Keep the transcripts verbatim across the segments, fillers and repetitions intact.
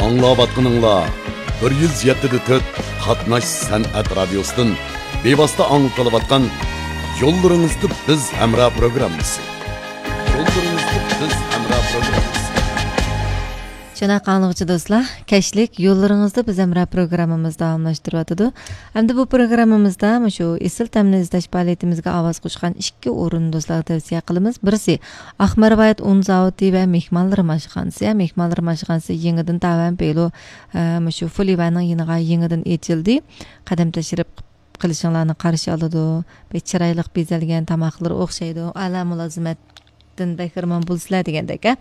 ئاڭلاۋاتقىنىڭلار بىر يۈز يەتتە دە تۆت قاتناش سەنئەت رادىيوسىدىن بىۋاسىتە ئاڭلىتىلىۋاتقان يوللىرىڭىزدا بىز ھەمراھ پروگراممىسى. يوللىرىڭىزدا بىز ھەمراھ پروگراممىسى. شۇنداق ئاڭلىغۇچى دوستلار، كەچلىك يوللىرىڭىزدا بىز ھەمراھ پروگراممىمىز داۋاملاشتۇرۇۋاتىدۇ. ئەمدى بۇ پروگراممىمىزدا مۇشۇ ئېسىل تەمنى ئىزدەش پائالىيىتىمىزگە ئاۋاز قوشقان ئىككى ئورۇننى دوستلارغا تەۋسىيە قىلىمىز. بىرسى ئاقمار ۋىلايەت ئۇن زاۋۇتى ۋە مېھمانلىرىم ئاشخانىسى. مېھمانلىرىم ئاشخانىسى يېڭىدىن تاۋەن بېلو، ئە، مۇشۇ فۇلىۋەننىڭ يېنىغا يېڭىدىن ئېچىلدى. قەدەم تەشرىپ قىلىشىڭلارنى قارشى ئالىدۇ. بەك چىرايلىق بېزەلگەن، تاماقلىرى ئوخشايدۇ. ئەلا مۇلازىمەتتىن بەھرىمەن بولىسىلەر دېگەندەك، ھە.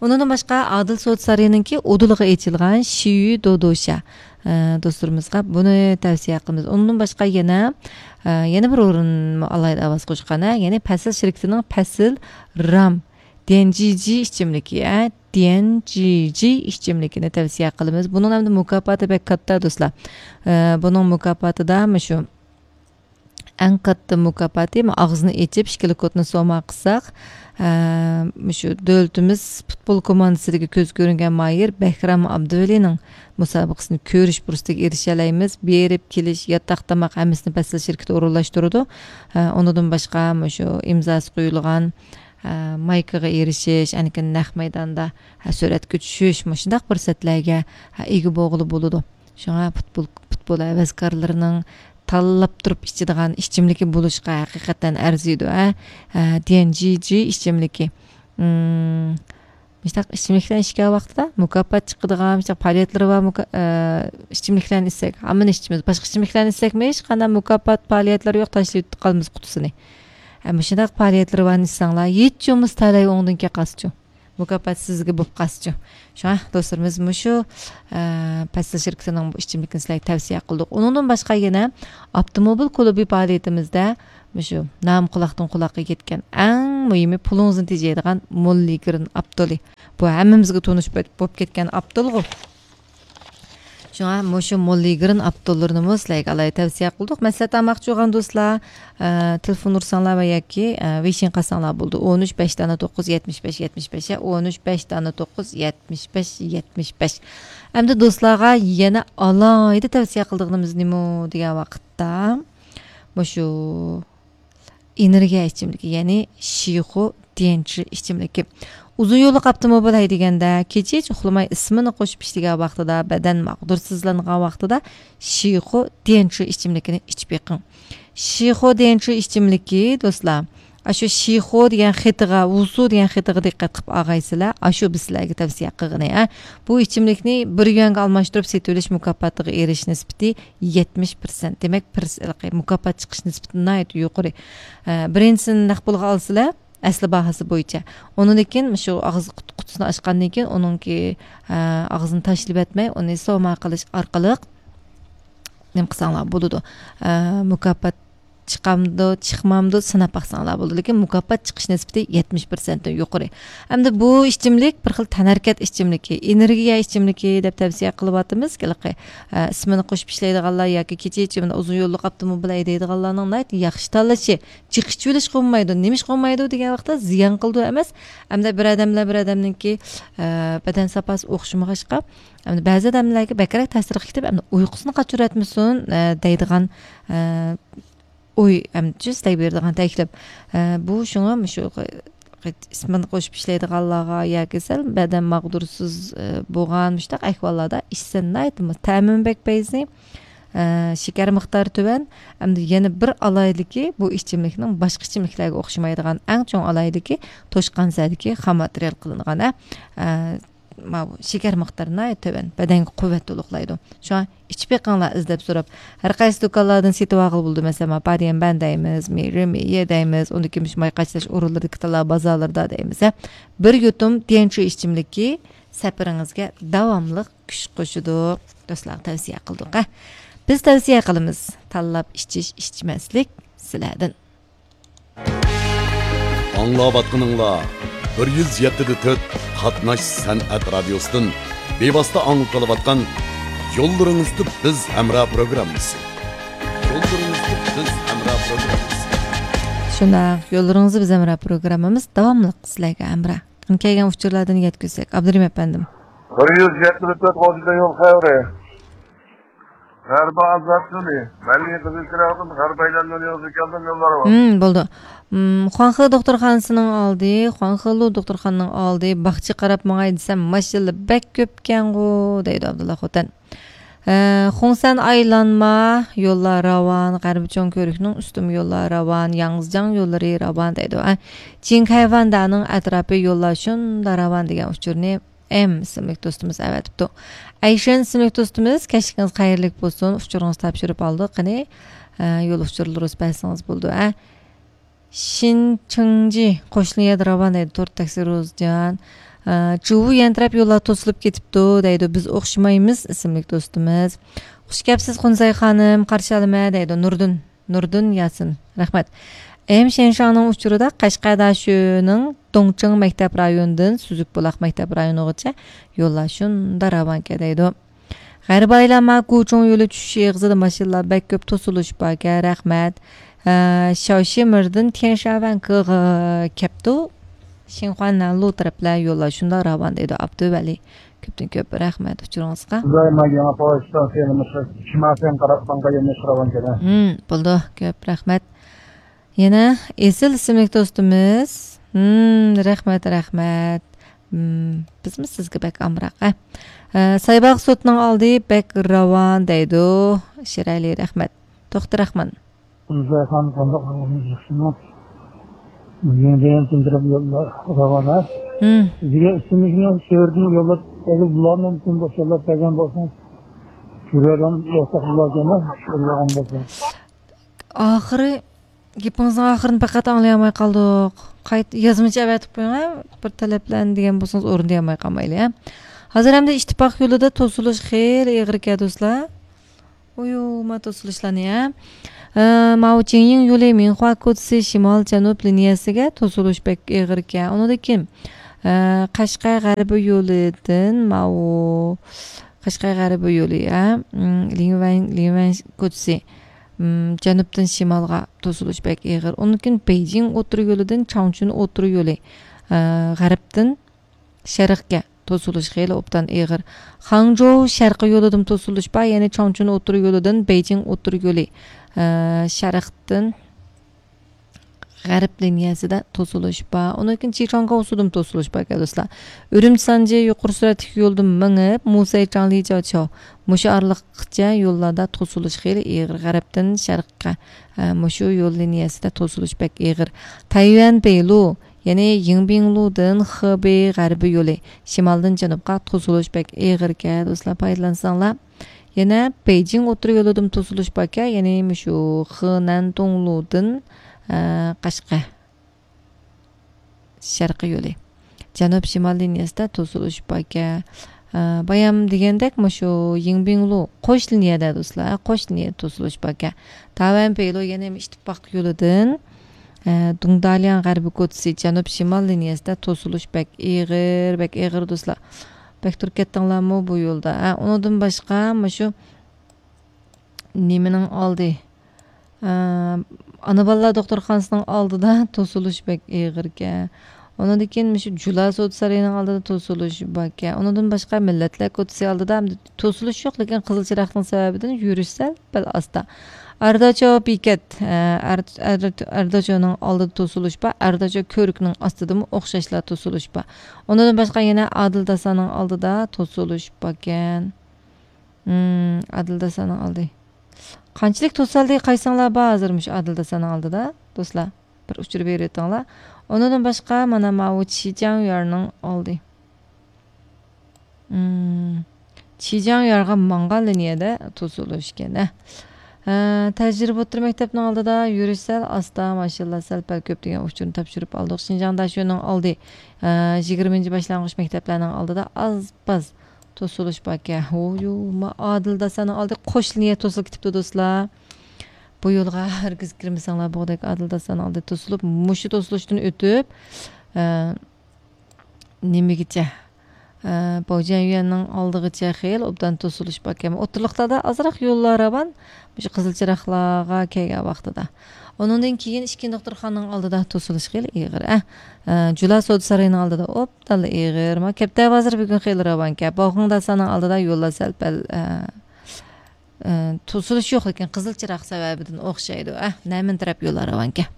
ئۇنىڭدىن باشقا ئادىل سودا سارىيىنىڭكى ئۇدۇلىغا ئېچىلغان شىيۈ دودوشا، ئە، دوستلىرىمىزغا بۇنى تەۋسىيە قىلىمىز. ئۇنىڭدىن باشقا يەنە، ئە، يەنە بىر ئورۇن ئالاھىدە ئاۋاز قوشقان، ھە. يەنى پەسىل شىركىتىنىڭ پەسىل رام ديەنجىجى ئىچىملىكى، ھە. ديەنجىجى ئىچىملىكىنى تەۋسىيە قىلىمىز. بۇنىڭ ئەمدى مۇكاپاتى بەك كاتتا، دوستلار. ئە، بۇنىڭ مۇكاپاتىدا مۇشۇ ئەڭ كاتتا مۇكاپاتى، ما، ئاغزىنى ئېچىپ، ئىككىلا كودنى سوما قىلساق، ئە، مۇشۇ دۆلىتىمىز پۇتبول كوماندىسىدىكى كۆز كۆرۈنگەن ماھىر بەھرام ئابدۇۋەلىنىڭ مۇسابىقىسىنى كۆرۈش پۇرسىتىگە ئېرىشەلەيمىز. بېرىپ كېلىش، ياتاق، تاماق ھەممىسىنى پەسىل شىركىتى ئورۇنلاشتۇرىدۇ. ئە، ئۇنىڭدىن باشقا مۇشۇ ئىمزاسى قويۇلغان، ئە، مايكىغا ئېرىشىش، ئاندىن كېيىن نەق مەيداندا، ئە، سۈرەتكە چۈشۈش، مۇشۇنداق پۇرسەتلەرگە، ئە، ئىگە بولغىلى بولىدۇ. شۇڭا پۇتبول، پۇتبول ھەۋەسكارلىرىنىڭ تاللاپ تۇرۇپ ئىچىدىغان ئىچىملىكى بولۇشقا ھەقىقەتەن ئەرزىيدۇ، ھە. ئە، ديەنجىجى ئىچىملىكى. مم، مۇشۇنداق ئىچىملىكلەرنى ئىچكەن ۋاقتىدا مۇكاپات چىقىدىغان، مۇشۇنداق پائالىيەتلىرى بار مۇكا-، ئە، ئىچىملىكلەرنى ئىچسەك، ھامىنى ئىچىمىز. باشقا ئىچىملىكلەرنى ئىچسەكمۇ ھېچقانداق مۇكاپات پائالىيەتلىرى يوق، تاشلىۋېتىپ قالىمىز قۇتىسىنى. ئە، مۇشۇنداق پائالىيەتلىرى بارنى ئىچسەڭلار، ھېچ بولمىسا تەلەي ئوڭدىن كېلىپ قالسىچۇ. مۇكاپات سىزگە بوپ قالسىچۇ. شۇڭا دوستلىرىمىز مۇشۇ، ئە، پەسىل شىركىتىنىڭ بۇ ئىچىملىكىنى سىلەرگە تەۋسىيە قىلدۇق. ئۇنىڭدىن باشقا يەنە ئاپتوموبىل كۇلۇبى پائالىيىتىمىزدە مۇشۇ نامى قۇلاقتىن قۇلاققا يەتكەن، ئەڭ مۇھىمى پۇلىڭىزنى تېجەيدىغان موللىگرىن ئاپتولى. بۇ ھەممىمىزگە تونۇش بولۇپ كەتكەن ئاپتولغۇ. شۇڭا مۇشۇ موللىگرىن ئاپتوللىرىنىمۇ سىلەرگە ئالاھىدە تەۋسىيە قىلدۇق. مەسلىھەت ئالماقچى بولغان دوستلار، ئە، تېلېفون ئۇرساڭلار ۋە ياكى، ئە، ۋېيشىن قازساڭلار بولىدۇ. ئون ئۈچ بەش دانە توققۇز يەتمىش بەش يەتمىش بەش، يە، ئون ئۈچ بەش دانە توققۇز يەتمىش بەش يەتمىش بەش. ئەمدى دوستلارغا يەنە ئالاھىدە تەۋسىيە قىلىدىغىنىمىز نېمە دېگەن ۋاقىتتا، مۇشۇ ئېنېرگىيە ئىچىملىكى، يەنى شىخۇ ديەنچى ئىچىملىكى. ئۇزۇن يوللۇق ئاپتوموبىل ھەيدىگەندە، كېچىچە ئۇخلىماي ئىسمىنى قوشۇپ ئىشلىگەن ۋاقتىدا، بەدەن ماغدۇرسىزلانغان ۋاقتىدا شىخۇ ديەنچى ئىچىملىكىنى ئىچىپ بېقىڭ. شىخۇ ديەنچى ئىچىملىكى، دوستلار، ئاشۇ شىخۇ دېگەن خېتىغا، ۋۇسۇ دېگەن خېتىغا دىققەت قىلىپ ئالغايسىلەر. ئاشۇ بىز سىلەرگە تەۋسىيە قىلغىنى، ھە. بۇ ئىچىملىكنى بىر يۈەنگە ئالماشتۇرۇپ سېتىۋېلىش مۇكاپاتىغا ئېرىشىش نىسبىتى يەتمىش پىرسەنت. دېمەك، پىرس-، مۇكاپات چىقىش نىسبىتى ناھايىتى يۇقىرى. ئە، بىرىنچىسىنى نەق پۇلغا ئالسىلەر، ئەسلى باھاسى بويىچە. ئۇنىڭدىن كېيىن شۇ ئاغزى قۇت-، قۇتىسىنى ئاچقاندىن كېيىن ئۇنىڭكى، ئە، ئاغزىنى تاشلىۋەتمەي، ئۇنى سوما قىلىش ئارقىلىق نېمە قىلساڭلار بولىدۇ. ئە، مۇكاپات چىقامدۇ، چىقمامدۇ سىناپ باقساڭلار بولىدۇ. لېكىن مۇكاپات چىقىش نىسبىتى يەتمىش پىرسەنتتىن يۇقىرى. ئەمدى بۇ ئىچىملىك بىر خىل تەنھەرىكەت ئىچىملىكى، ئېنېرگىيە ئىچىملىكى دەپ تەۋسىيە قىلىۋاتىمىز. ھېلىقى، ئە، ئىسمىنى قوشۇپ ئىشلەيدىغانلار ياكى كېچە ئىچىملىك ئۇزۇن يوللۇق ئاپتوموبىل ھەيدەيدىغانلارنىڭ ناھايىتى ياخشى تاللىشى. جىق ئىچىۋېلىشقا بولمايدۇ. نېمە ئىشقا بولمايدۇ دېگەن ۋاقىتتا، زىيان قىلىدۇ ئەمەس. ئەمدى بىر ئادەملەر بىر ئادەمنىڭكى، ئە، بەدەن ساپاسى ئوخشىمىغاچقا، ئەمدى بەزى ئادەملەرگە بەكرەك تەسىرگە كېتىپ، ئەمدى ئۇيقۇسىنى قاچۇرۇۋەتمىسۇن، ئە، دەيدىغان، ئە، ئوي، ئەمدى سىلەرگە بېرىدىغان تەكلىپ. ئە، بۇ شۇڭا مۇشۇ ئىسمىنى قوشۇپ ئىشلەيدىغانلارغا ياكى سەل بەدەن ماغدۇرسىز، ئە، بولغان مۇشۇنداق ئەھۋاللاردا ئىچسە ناھايىتى تەمىمۇ بەك پەيزى، ئە، شېكەر مىقدارى تۆۋەن. ئەمدى يەنە بىر ئالاھىدىلىكى، بۇ ئىچىملىكنىڭ باشقا ئىچىملىكلەرگە ئوخشىمايدىغان ئەڭ چوڭ ئالاھىدىلىكى، توشقان سەدىكى خام ماتېرىيال قىلىنغان، ئە، ئە، ماۋۇ شېكەر مىقدارى ناھايىتى تۆۋەن، بەدەنگە قۇۋۋەت تولۇقلايدۇ. شۇڭا ئىچىپ بېقىڭلار ئىزدەپ سوراپ. ھەر قايسى دۇكانلاردىن سېتىۋالغىلى بولىدۇ. مەسىلەن، ما باديەنبەن دەيمىز، مېرىمېيە دەيمىز، ئۇندىن كېيىن مۇشۇ ماي قاچىلاش ئورۇنلىرىدىكى تاللا بازارلىرىدا دەيمىز، ھە. بىر يۇتۇم ديەنچى ئىچىملىكى سەپىرىڭىزگە داۋاملىق كۈچ قوشىدۇ. دوستلارغا تەۋسىيە قىلدۇق، ھە. بىز تەۋسىيە قىلىمىز. تاللاپ ئىچىش، ئىچمەسلىك سىلەردىن. ئاڭلاۋاتقىنىڭلار بىر يۈز يەتتە دە تۆت قاتناش سەنئەت رادىيوسىدىن بىۋاسىتە ئاڭلىتىلىۋاتقان يوللىرىڭىزدا بىز ھەمراھ پروگراممىسى. يوللىرىڭىزدا بىز ھەمراھ پروگراممىسى. شۇنداق، يوللىرىڭىزدا بىز ھەمراھ پروگراممىمىز داۋاملىق سىلەرگە ھەمراھ. قېنى، كەلگەن ئۇچۇرلاردىن يەتكۈزسەك، ئابدۇرېھىم ئەپەندىم. بىر يۈز يەتمىش تۆت غوجىدا يول خەۋىرى. غەربىي ئازاد يولى. مەللىي قىزىل چىراغدىن غەربىي ئايلانما يولىغا كەلدىم، يوللار بار. ھىم، بولدى. ھىم، خۇاڭخې دوختۇرخانىسىنىڭ ئالدى، خۇاڭخېلۇ دوختۇرخانىنىڭ ئالدى، باغچە قاراپ ماڭاي دېسەم، ماشىنىلار بەك كۆپكەنغۇ، دەيدۇ ئابدۇللا خوتەن. ئە، خۇڭسەن ئايلانما يوللار راۋان، غەربىي چوڭ كۆۋرۈكنىڭ ئۈستۈن يوللار راۋان، ياڭزىجياڭ يوللىرى راۋان دەيدۇ. ئە، جىڭكەيۋەندانىڭ ئەتراپى يوللار شۇنداق راۋان دېگەن ئۇچۇرنى ئېم ئىسىملىك دوستىمىز ئەۋەتىپتۇ. ئەيشەن ئىسىملىك دوستىمىز، كەچلىكىڭىز خەيرلىك بولسۇن، ئۇچۇرىڭىزنى تاپشۇرۇپ ئالدۇق. قېنى، ئە، يول ئۇچۇرلىرىڭىزنى بەرسىڭىز بولىدۇ، ئە. شىنچىڭجى قوشنا يەردە راۋان دەيدۇ، تور تاكسى روزجان. ئە، جۇۋۇ يەنتىرەپ يوللار توسۇلۇپ كېتىپتۇ دەيدۇ، بىز ئوخشىمايمىز ئىسىملىك دوستىمىز. خۇش كەپسىز خۇنزەي خانىم، قارشى ئالىمەن دەيدۇ، نۇردىن. نۇردىن ياسىن، رەھمەت. ئېم شېنشاڭنىڭ ئۇچۇرىدا قەشقەر داشۆنىڭ دۇڭچىڭ مەكتەپ رايونىدىن سۈزۈك بۇلاق مەكتەپ رايونىغىچە يوللار شۇنداق راۋانكەن دەيدۇ. غەربىي ئايلانما گۇچۇڭ يولى چۈشۈش ئېغىزىدا ماشىنىلار بەك كۆپ، توسۇلۇش باركەن، رەھمەت. ئە، شاۋشىمىردىن تيەنشاۋەنكىغا كەپتۇ. شىنخۇاندىن لۇ تەرەپلەر يوللار شۇنداق راۋان دەيدۇ، ئابدۇۋەلى. كۆپتىن كۆپ رەھمەت ئۇچۇرىڭىزغا. خۇدايىم يېڭى پوۋېستان سېنىمىز شىماسەن قاراپ ماڭغان يەرنى سوراۋاتىدۇ. ھىم، بولدى. كۆپ رەھمەت. يەنە ئېسىل ئىسىملىك دوستىمىز. ھىم، رەھمەت، رەھمەت. ھىم، بىزمۇ سىزگە بەك ئامراق، ھە. ئە، سايباغ سوتىنىڭ ئالدى بەك راۋان دەيدۇ. شىرئەلى، رەھمەت. توختى راخمان. گۈلزايخان قانداق ئەھۋالىڭىز، ياخشىمۇ؟ يېڭىدىن تىندىرىپ يوللار راۋان، ھە؟ ھىم. بىزگە ئىسمىمىزنى شېھىردىن يوللاپ، ئەگەر بۇلارنى مۇمكىن بولسا يوللاپ بەرگەن بولسىڭىز، كۆرۈۋېرىدىغان بولساق بۇلارغىمۇ يوللىغان بولسا. ئاخىرى، گېپىڭىزنىڭ ئاخىرىنى پەقەت ئاڭلىيالماي قالدۇق. قايتا يازمىچە ئەۋەتىپ قويۇڭ، ھە؟ بىر تەلەپلەرنى دېگەن بولسىڭىز ئورۇندىيالماي قالمايلى، ھە؟ ھازىر ئەمدى ئىتتىپاق يولىدا توسۇلۇش خېلى ئېغىر ئىكەن، دوستلار. ئويۇما توسۇلۇشلارنى، ھە؟ ئە، ماۋۇ جىڭيىڭ يولى مىنخۇا كوچىسى شىمال جەنۇب لىنىيەسىگە توسۇلۇش بەك ئېغىركەن. ئۇنىڭدىن كېيىن، ئە، قەشقەر غەربىي يولىدىن ماۋۇ قەشقەر غەربىي يولى، ھە؟ م، لىڭۋەن، لىڭۋەن كوچىسى، م، جەنۇبتىن شىمالغا توسۇلۇش بەك ئېغىر. ئۇنىڭدىن كېيىن بېيجىڭ ئوتتۇرا يولىدىن چاڭچۈن ئوتتۇرا يولى، ئە، غەربتىن شەرقكە توسۇلۇش خېلى ئوبدان ئېغىر. خاڭجوۋ شەرقىي يولىدىن توسۇلۇش بار، يەنى چاڭچۈن ئوتتۇرا يولىدىن بېيجىڭ ئوتتۇرا يولى، ئە، شەرقتىن غەرب لىنىيەسىدە توسۇلۇش بار. ئۇنىڭدىن كېيىن چىچاڭگاۋسۇدىن توسۇلۇش بار ئىكەن، دوستلار. ئۈرۈمچى سانجى يۇقىرى سۈرئەتلىك يولدىن مېڭىپ، مۇسەي چاڭلى جاچاۋ مۇشۇ ئارىلىققىچە يوللاردا توسۇلۇش خېلى ئېغىر. غەربتىن شەرققە، ئە، مۇشۇ يول لىنىيەسىدە توسۇلۇش بەك ئېغىر. تەييۈەن بېيلۇ يەنى يىڭبىڭلۇدىن خېبېي غەربىي يولى، شىمالدىن جەنۇبقا توسۇلۇش بەك ئېغىركەن، دوستلار، پايدىلانساڭلار. يەنە بېيجىڭ ئوتتۇرا يولىدىن توسۇلۇش باركەن، يەنى مۇشۇ خېنەن توڭلۇدىن، ئە، قەشقەر شەرقىي يولى. جەنۇب شىمال لىنىيەسىدە توسۇلۇش باركەن. ئە، بايام دېگەندەك، مۇشۇ يىڭبىڭلۇ قوش لىنىيەدە، دوستلار، قوش لىنىيەدە توسۇلۇش باركەن. تاۋەن پېيلۇ يەنە ئىتتىپاق يولىدىن، ئە، دۇڭدالياڭ غەربىي كوچىسى جەنۇب شىمال لىنىيەسىدە توسۇلۇش بەك ئېغىر، بەك ئېغىر، دوستلار. بەك تۇرۇپ كەتتىڭلارمۇ بۇ يولدا؟ ھە، ئۇنىڭدىن باشقا، مۇشۇ نېمىنىڭ ئالدى؟ ئە، ئانا بالىلار دوختۇرخانىسىنىڭ ئالدىدا توسۇلۇش بەك ئېغىركەن. ئۇنىڭدىن كېيىن مۇشۇ جۇلا سودا سارىيىنىڭ ئالدىدا توسۇلۇش باركەن. ئۇنىڭدىن باشقا مىللەتلەر كوچىسى ئالدىدا ئەمدى توسۇلۇش يوق، لېكىن قىزىل چىراغنىڭ سەۋەبىدىن يۈرۈش سەل پەل ئاستا. ئەرداچو بېكەت، ئە، ئەر-، ئەر-، ئەرداچونىڭ ئالدىدا توسۇلۇش بار، ئەرداچو كۆۋرۈكنىڭ ئاستىدىمۇ ئوخشاشلا توسۇلۇش بار. ئۇنىڭدىن باشقا يەنە ئادىل داسانىڭ ئالدىدا توسۇلۇش باركەن. ھىم، ئادىل داسانىڭ ئالدى. قانچىلىك توسالدى، قايسىڭلار بار ھازىر مۇشۇ ئادىل داسانىڭ ئالدىدا، دوستلار؟ بىر ئۇچۇر بېرىۋېتىڭلار. ئۇنىڭدىن باشقا، مانا ماۋۇ چىجياڭيۈەننىڭ ئالدى. ھىم، چىجياڭيۈەنگە ماڭغان لىنىيەدە توسۇلۇش ئىكەن، ھە. ھە، تەجرىبە ئوتتۇرا مەكتەپنىڭ ئالدىدا يۈرۈش سەل ئاستا، ماشىنىلار سەل پەل كۆپ دېگەن ئۇچۇرنى تاپشۇرۇپ ئالدۇق. شىنجاڭ داشۆنىڭ ئالدى، ھە، يىگىرمىنچى باشلانغۇچ مەكتەپلەرنىڭ ئالدىدا ئاز پاز توسۇلۇش باركەن. ھويۇ، ما ئادىل داسانىڭ ئالدى قوش لىنىيە توسۇلۇپ كېتىپتۇ، دوستلار. بۇ يولغا ھەرگىز كىرمىسەڭلار بولغۇدەك، ئادىل داسانىڭ ئالدى توسۇلۇپ، مۇشۇ توسۇلۇشتىن ئۆتۈپ، ئە، نېمىگىچە، ئە، بوجيەنيۈەننىڭ ئالدىغىچە خېلى ئوبدان توسۇلۇش باركەن. ئوتتۇرىلىقلاردا ئازراق يوللار راۋان، مۇشۇ قىزىل چىراغلارغا كەلگەن ۋاقتىدا. ئۇنىڭدىن كېيىن ئىككىنچى دوختۇرخانىنىڭ ئالدىدا توسۇلۇش خېلى ئېغىر، ئە. ئە، جۇلا سودا سارىيىنىڭ ئالدىدا ئوبدانلا ئېغىر. ما كەپتە بازىرى بۈگۈن خېلى راۋانكەن. باۋخېڭداساننىڭ ئالدىدا يوللار سەل-پەل، ئە، ئە، توسۇلۇش يوق، لېكىن قىزىل چىراغ سەۋەبىدىن ئوخشايدۇ، ئە. نەمىن تەرەپ يوللار راۋانكەن.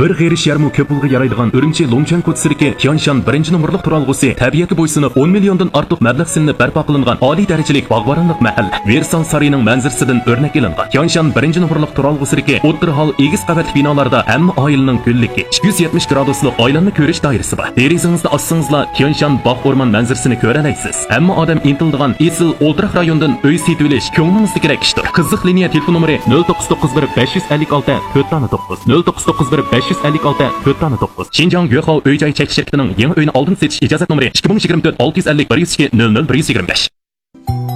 بىر غېرىش يەرمۇ كۆپ پۇلغا يارايدىغان ئۈرۈمچى لۇڭچۈەن كوچىسىدىكى تيانشان بىرىنچى نومۇرلۇق تۇرالغۇسى تەبىئەتكە بويسۇنۇپ، ئون مىليوندىن ئارتۇق مەبلەغ سېلىنىپ بەرپا قىلىنغان ئالىي دەرىجىلىك باغۋەنلىك مەھەل، ۋېرسال سارىيىنىڭ مەنزىرىسىدىن ئۆرنەك ئېلىنغان. تيانشان بىرىنچى نومۇرلۇق تۇرالغۇسىدىكى ئوتتۇرا ھال ئېگىز قەۋەتلىك بىنالاردا ھەممە ئائىلىنىڭ گۈللۈكى، ئىككى يۈز يەتمىش گرادۇسلۇق ئايلانما كۆرۈش دائىرىسى بار. دېرىزىڭىزنى ئاچسىڭىزلا، تيانشان باغ ئورمان مەنزىرىسىنى كۆرەلەيسىز. ھەممە ئادەم ئىنتىلىدىغان ئېسىل ئولتۇراق رايونىدىن ئۆي سېتىۋېلىش كۆڭلىڭىزدىكىدەك ئىشتۇر. قىزىق لىنىيە تېلېفون نومۇرى: نۆل توققۇز توققۇز بىر بەش يۈز ئەللىك ئالتە تۆت دانە توققۇز، نۆل توققۇز توققۇز بىر بەش يۈز ئەللىك ئالتە تۆت دانە توققۇز. شىنجاڭ گۆخاۋ ئۆي جاي چەكلىك شىركىتىنىڭ يېڭى ئۆينى ئالدىن سېتىش ئىجازەت نومۇرى: ئىككى مىڭ يىگىرمە تۆت ئالتە يۈز ئەللىك بىر يۈز ئىككى نۆل نۆل بىر يۈز يىگىرمە بەش.